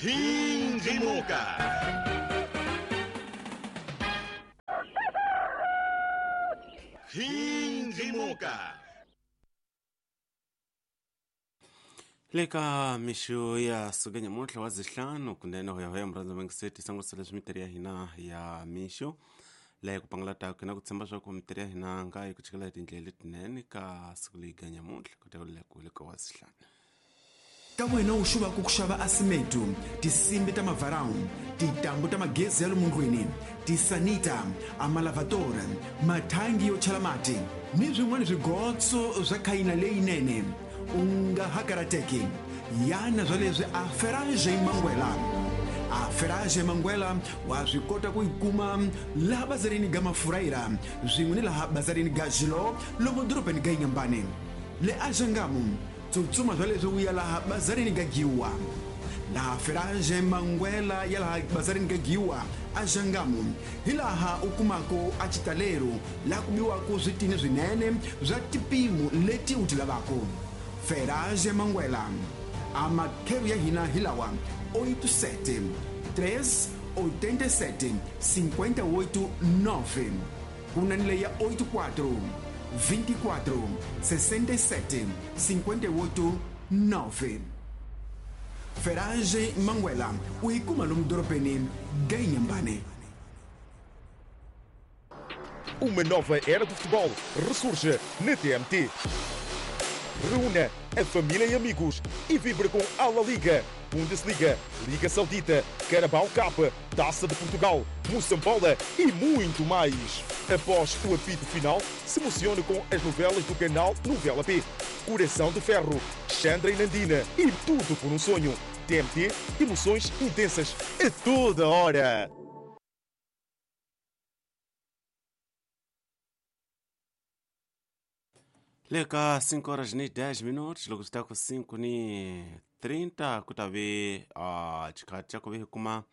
Khindlimuka. Khindlimuka. Le ka mixo ya suka nyamuntlha wa zihlanu kunene hoyahoya murhandza mangiseti sango leswi mitirhi ya hina ya mixo leyi ku pangalataka na ku tshemba swa ku mitirhi ya hina nga yi ku chikela hi tindlela letinene ka siku leyi ga nyamuntlha ku ta ku le ka wa zihlanu. Ka wena u xuvaka ku xava asimetu, tisimbi ta mavarawu, tintambu ta magezi ya lomu ndlwini, tisanita, amalavatory, mathangi yo chela mati ni swin'wana swigotso swa khayina leyinene, u nga ha karateki. Yana swa leswi a Ferage Mangwela. A Ferage Mangwela wa swi kota ku yi kuma laha bazarini ga Mafurayira swin'we ni laha bazarini ga Xilo lomu dorobeni ga Inyambane. Le Axangamu, tsutsuma swa leswi u ya laha bazarini ga Giwa. Laha Ferage Mangwela ya laha bazarini ga Giwa Axangamu hi laha u kumaka a xitalero laha ku biwaka switini swinene swa tipimo leti u ti lavaka. Ferage Mangwela. A makheru ya hina hi lawa: 87 3 87 58 9, ku na ni leyi ya 84 24 67 58 9. Ferage Mangwela u yi kuma lomu dorobeni ga Inyambane. Uma nova era do futebol ressurge na TMT. Reúna a família e amigos e vibre com a La Liga, Bundesliga, Liga Saudita, Carabao Cup, Taça de Portugal, Moçambola e muito mais. Após o apito final, se emocione com as novelas do canal Novela P, Coração de Ferro, Chandra e Nandina e Tudo por um Sonho. TMT, emoções intensas a toda hora. Le ka 5 horas ni 10 minutos, loko swi ta ku 5 ni 30 ku ta ve xikhathi xa ku ve hi kuma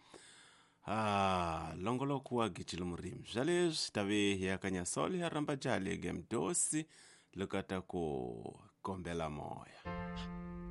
longoloko wa gijila murimi. Swa leswi ta ve hi ya ka Nyasolo ya rhamba jaha le Gemdosi loko a ta ku kombela moya.